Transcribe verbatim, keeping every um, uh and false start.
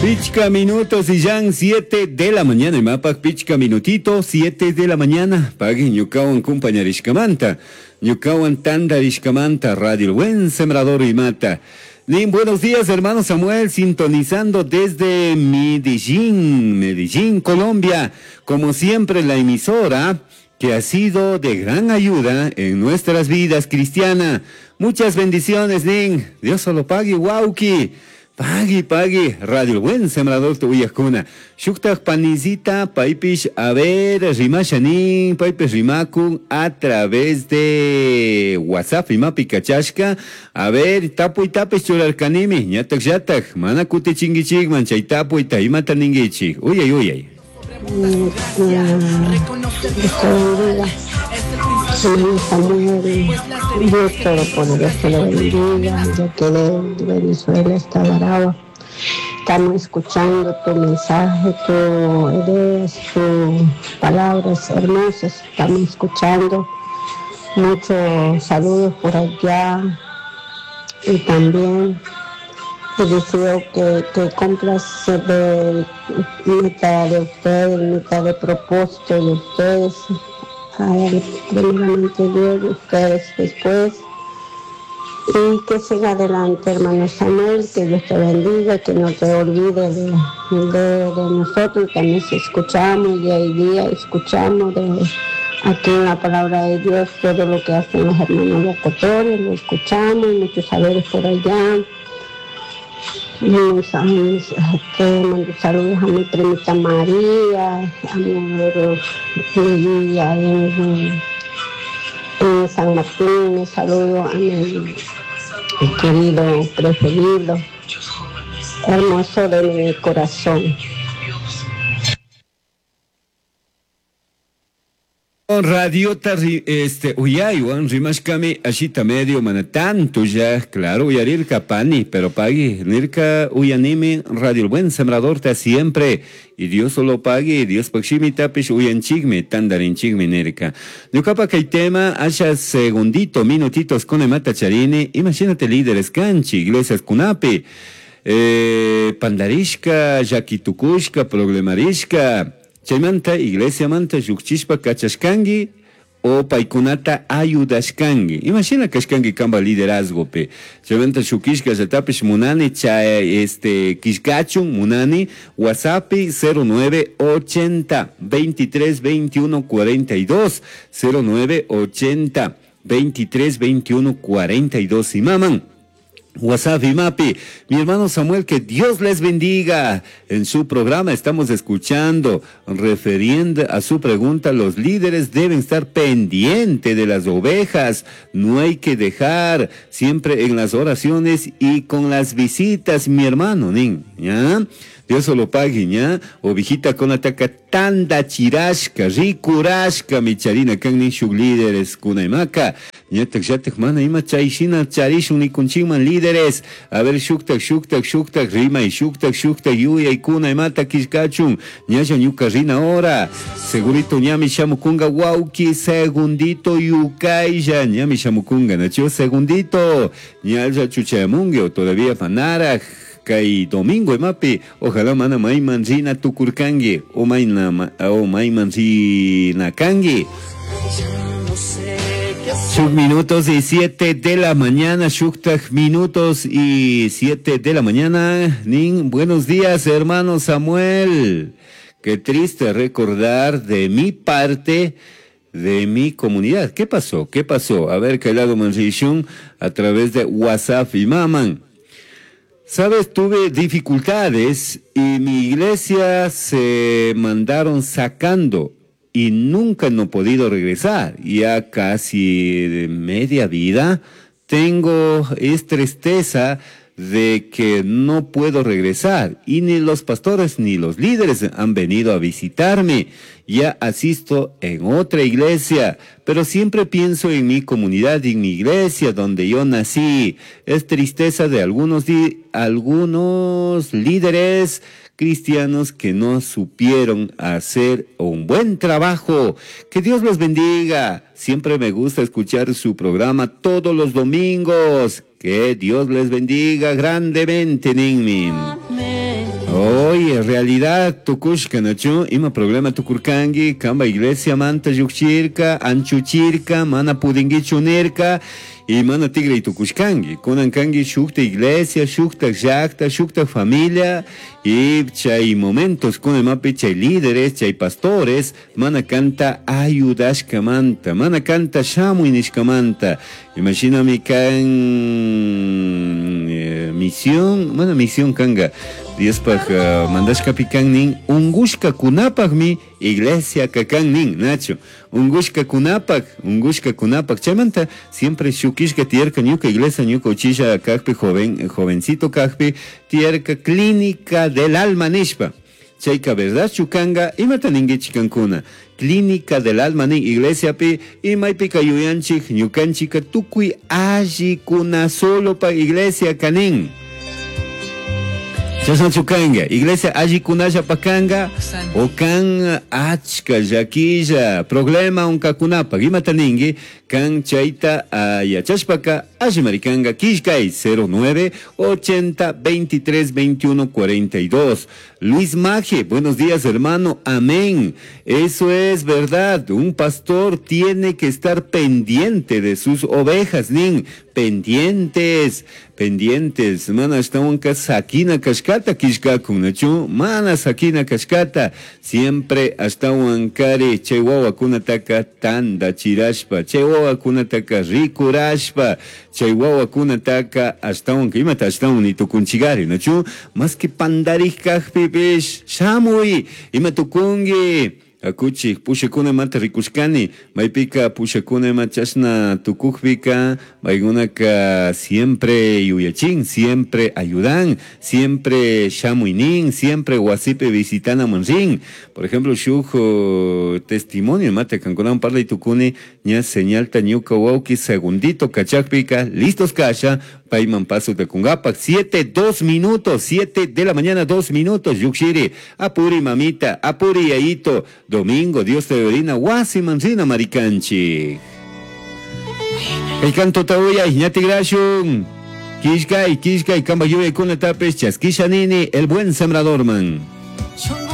Pichca minutos y ya siete de la mañana. Imapak pichca minutito, siete de la mañana. Pagui ñukawan kumpañarishkamanta. Ñukawan tandarishkamanta. Radio El Buen Sembrador Imata. Nin, buenos días, hermano Samuel, sintonizando desde Medellín, Medellín, Colombia. Como siempre, la emisora que ha sido de gran ayuda en nuestras vidas cristiana. Muchas bendiciones, Nin. Dios solo pague, wauki. Pagui, pagui, Radio Buen Sembrador tu uyakuna. Shuktak panizita, paipish, a ver, rimashanin, paipish rimakun, a través de WhatsApp, imapi kachashka, a ver, tapuy tapish churarkanimi, ñatak yatak, mana kutichingichikman, chay tapuyta, imata ningichik. Uyay, uyay. Dios te bendiga. Hermano Samuel, Dios Todopoderoso lo bendiga. Yo que de Venezuela está Aragua. Estamos escuchando tu mensaje, tu ideas, tus palabras hermosas. Estamos escuchando. Muchos saludos por allá. Y también te deseo que, que cumplas de meta de ustedes, meta de propósito de ustedes. A primeramente Dios, ustedes después. Y que siga adelante, hermano Samuel, que Dios te bendiga, que no te olvide de, de, de nosotros. También si escuchamos día y día, escuchamos de aquí en la palabra de Dios todo lo que hacen los hermanos locutores, lo escuchamos, muchos saberes por allá. Y mis, mis, este, mando saludos a mi primita María, a mi María en, en San Martín, un saludo a mi querido preferido, hermoso de mi corazón. Radiota este uyaywan rimashkami ashita medio mana tanto ya claro uyarirka pani pero pagui nirka uyanimi Radio El Buen Sembrador ta siempre y Dios solo pague Dios pakshimi tapish uyanchikmi tandarinchikmi nirka ñuqapa kay tema asha segundito minutitos con imata charini imagínate líderes kanchi iglesias kunapi eh, pandarishka llakitukushka problemarishka chaymanta iglesia manta llukchishpa kachashkanki o paykunata ayudashkanki. Imagina kashkanki kamba liderazgopi. Chaymanta shukishka llatapish munani chay este kishkachun munani WhatsApp cero nueve ochenta veintitrés veintiuno cuarenta y dos cero nueve ochenta veintitrés veintiuno cuarenta y dos y maman. WhatsApp y Mapi, mi hermano Samuel, que Dios les bendiga. En su programa estamos escuchando, refiriendo a su pregunta, los líderes deben estar pendientes de las ovejas, no hay que dejar siempre en las oraciones y con las visitas, mi hermano, nin, ¿ya? Dios solo pague, ¿ya? Ovejita con ataca tanda chirashka, rikurashka, mi charina, kan nin shuk líderes kunaimaka. Ñatak yatak mana ima chayshina charishun nikunchikman líderes. A ver, shuktak, shuktak, shuktak, rimay, shuktak, shuktak, yuyay, kunaimata kishkachun. Ñalla ñuka rina hora. Segurito ñami shamukunga wauki, segundito yukaylla. Ñami shamukunga, nacho, segundito. Ñalla chuchayamungue o todavía manaraj. Kay domingo emapi, ojalá mana mayman rina tukurkangi, o mayna, o mayman rina kangi. Shuk minutos y siete de la mañana, shuktak minutos y siete de la mañana. Nin, buenos días, hermano Samuel. Qué triste recordar de mi parte, de mi comunidad. ¿Qué pasó? ¿Qué pasó? A ver, Kailado Manrishun, a través de WhatsApp y maman. Sabes, tuve dificultades y mi iglesia se mandaron sacando y nunca no he podido regresar. Ya casi media vida tengo es tristeza de que no puedo regresar y ni los pastores ni los líderes han venido a visitarme. Ya asisto en otra iglesia, pero siempre pienso en mi comunidad y en mi iglesia donde yo nací. Es tristeza de algunos, algunos líderes cristianos que no supieron hacer un buen trabajo. Que Dios los bendiga. Siempre me gusta escuchar su programa todos los domingos. Que Dios les bendiga grandemente, Ninmi. Oye, realidad tukushka nachu ima problema tukurkangi kamba iglesia manta llukchirka anchuchirka mana pudingichu nirka y mana tigre tukushkangi kunan kangi shukta iglesia shukta llakta shukta familia y chay momentos kunan imapi chay líderes chay pastores mana kanta ayudashkamanta mana kanta shamuy nishkamanta imashinami kan eh, misión mana misión kanga Diospaj uh, mandashkapi kan nin ungushkakunapaqmi iglesia kakan nin nacho ungushkakunapaq ungushkakunapaq chaymanta siempre shukishka tiyarka ñuka iglesia ñuka uchilla kajpi joven jovencito kajpi tiyarka clínica del alma nishpa chayka verdadchu kanga imata ninkichik kankuna clínica del alma nin iglesiapi imaypika yuyanchik ñukanchika tukuy allikuna solo pa iglesia kanin chashnachu kanga iglesia allikunallapa kanga o kan achka llakilla problema unkakunapaq imata ninki kan chayta uh, yachashpaka allimari kanga killkay cero nueve ochenta veintitrés veintiuno cuarenta y dos. Luis Maje, buenos días hermano, amén. Eso es verdad, un pastor tiene que estar pendiente de sus ovejas, nin, pendientes, pendientes, mana ashtawanka sakina kashkata killkakun, nachu, mana sakina kashkata, siempre ashtawankari chay wawakunataka tandachirashpa, chay wawakunataka rikurashpa, chay wawakunataka ashtawanka imata ashtawan nitukunchigari, nachu, más que pandarij kajpipish, shamuy, ima tukunki, akuchik pushakunamanta rikushkani maypika pushakunama chashna tukukpika paykunaka siempre yuyachin, siempre ayudan, siempre shamuynin, siempre wasipi visitanaman rin. Por ejemplo, shuk testimonio mate kankunawan parlay tukuni ña señalta ñuka wawki segundito kachakpika listos kasha payman paso takungapak siete dos minutos, siete de la mañana dos minutos yukshiri apuri mamita, apuri yayito, domingo, Dios te orina, wasi manzina maricanchi. El canto tauya, ñati grashun. Kishkay, kishkay, kamba yuya kuna tapes, chaskisha nini, el buen sembrador man.